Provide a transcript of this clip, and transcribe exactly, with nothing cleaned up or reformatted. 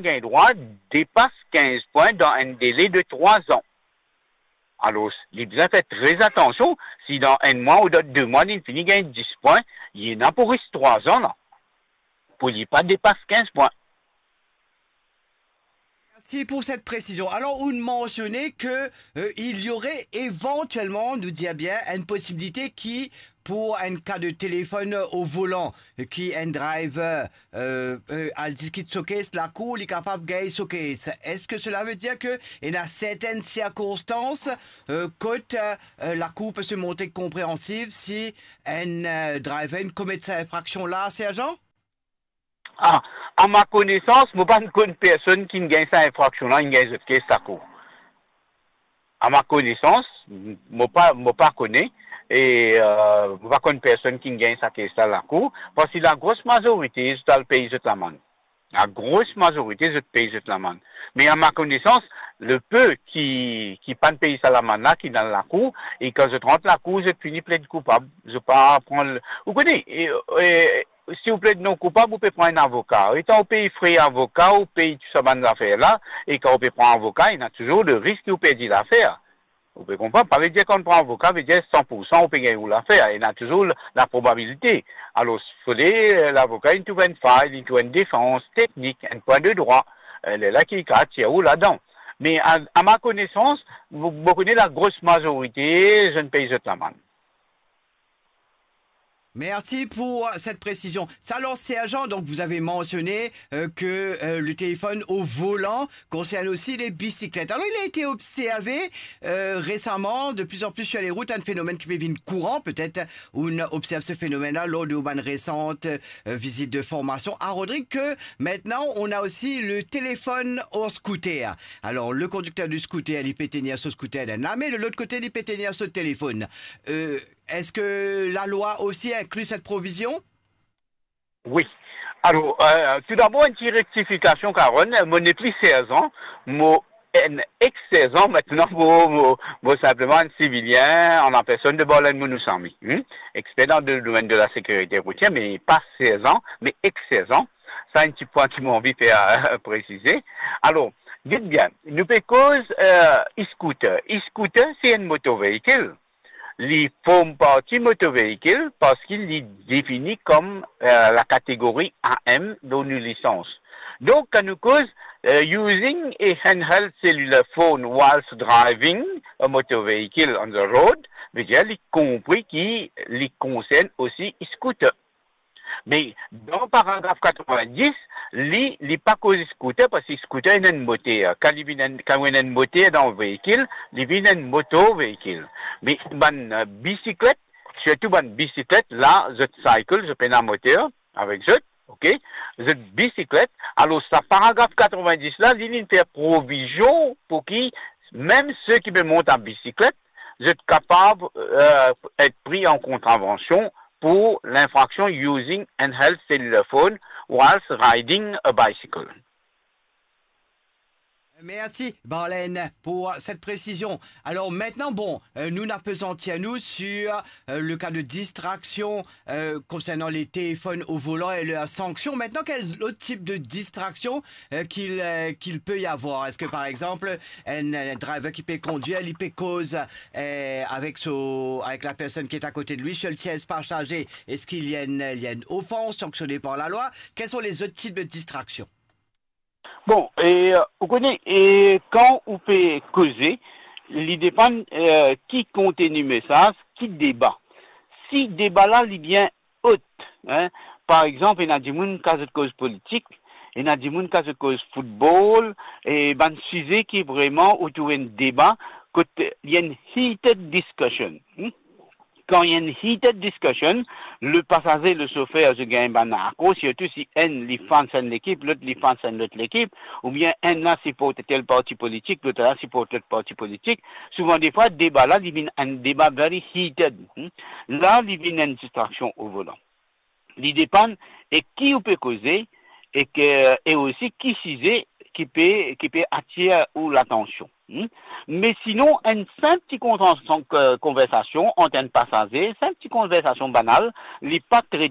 gagn drwa depas kinz pwin dan enn dele de trwa an. Alor, li bizin fer tre atansion, si dan enn mwa ou dan de mwa li fini gagn dis pwin, li ena pou res trwa an la, pou li pa depas kinz pwin. Merci pour cette précision. Alors, vous mentionnez que euh, il y aurait éventuellement, nous dit bien, une possibilité qui, pour un cas de téléphone au volant, euh, qui un driver euh, euh, al diskit so case lakour, li kapav gagn so case. Est-ce que cela veut dire que il y a certaines circonstances euh, kot euh, lakour peut se montrer compréhensive si un euh, driver commet cette infraction-là, sergent? Ah, à ma connaissance, mo pa konn personn ki gagn sa infraction la, ki gagn zot case lakour. À ma connaissance, mo pa, mo pa kone, e euh, mo pa konn personn ki gagn sa case la lakour, parski lagros mazorite zot al pey zot lamann. Lagros mazorite zot pey zot lamann. Me à ma connaissance, le peu ki, ki pa pey sa lamann la, ki dan lakour, e kan zot rant lakour, zot fini pled koupab, zot pa pran l-, ou kone, e, e, si ou pled non koupab, ou pe pran enn avoka. Letan ou pey fre avoka, ou pey tou sa bann zafer la, e kan ou pe pran avoka, ena touzour le risk ki ou perdi lafer. Ou pe konpran? Pa vedir kan ou pran avoka, vedir san pou san ou pe gagn ou lafer. Ena touzour la probabilite. Alor, fode, euh, lavoka, li trouv enn fay, li trouv enn defans teknik, enn pwin de drwa, euh, lerla ki kapav tir ou ladan. Me à, à ma connaissance, mo, mo kone lagros mazorite, zot pey zot lamann. Merci pour cette précision. Ça, alors, sergent, donc vous avez mentionné euh, que euh, le téléphone au volant concerne aussi les bicyclettes. Alors, il a été observé euh, récemment, de plus en plus sur les routes, un phénomène qui devient courant, peut-être, on observe ce phénomène-là lors de bonnes récentes euh, visites de formation à Rodrigue, que maintenant, on a aussi le téléphone au scooter. Alors, le conducteur du scooter, il peut tenir son scooter dans la main, de l'autre côté, il peut tenir son téléphone. Euh, Est-ce que la loi aussi inclut cette provision? Wi. Alor, euh, toudabor, enn ti rektifikasion, Karonn. Mo nepli serzan, mo enn ex-serzan, aster mo, mo, mo sinpleman enn sivilien, an la personn de Barlen Mounoussamy, hmm? Exper dan le domenn de la sekirite routier, me pa serzan, me ex-serzan. Sa enn ti pwin ki mo anvi fer euh, presize. Alor, get bien, nou pe koz euh, e-scooter. E-scooter, se enn moto veikil. Li form parti moto veikil parski li defini kom euh, lakategori A M dan nou lisans. Donk, kan nou koz euh, using a handheld cellular phone whilst driving a motor vehicle on the road, vedir li konpri ki li konsern osi e-scooter. Me dan paragraf katrevin-dis, li, li pa koz scooter, parski scooter ena enn moter. Kan li vinn enn, kan ou ena enn moter dan ou veikil, li vinn enn motor veikil. Me bann euh, bisiklet, sirtou bann bisiklet la, zot cycle, zot pena moter avek zot, ok? Zot bisiklet. Alor, sa paragraf katrevin-dis la, li, li fer provizion pou ki mem seki pe mont a bisiklet, zot kapav euh, et pri an kontravansion pour l'infraction using handheld cellular phone whilst riding a bicycle. Merci, Barlen, pour cette précision. Alors maintenant, bon, euh, nous n'apesantir nous sur euh, le cas de distraction euh, concernant les téléphones au volant et leurs sanctions. Maintenant, quel autre type de distraction euh, qu'il euh, qu'il peut y avoir? Est-ce que, par exemple, un, un driver qui peut conduire, il peut cause euh, avec, son, avec la personne qui est à côté de lui sur le siège passager? Est-ce qu'il y a une, il y a une offense sanctionnée par la loi? Quels sont les autres types de distractions? Bon, e, euh, ou kone, e, kan ou pe koze, li depann euh, ki konteni mesaz, ki deba. Si deba la li bien ot, hein, par exanp, ena dimoun kan zot koz politik, ena dimoun kan zot koz football, e bann size ki vreman otour enn deba, kot li enn heated discussion. Hmm? Kan li enn heated discussion, le pasaze, le sofer, zot gagn bann akor, sirtou si enn li fans enn lekip, lot li fans enn lot lekip, oubien enn la siport tel parti politik, lot la siport lot parti politik. Souvan defwa, deba la, li vinn enn deba very heated. Hmm? La, li vinn enn distraksion o volan. Li depann e ki ou pe koze, e ke, e osi ki size ki pe, ki pe atir ou latansion. Hmm? Me sinon, enn sinp ti kontra-, son, euh, konversasion ant enn pasaze, sinp ti konversasion banal, li pa tre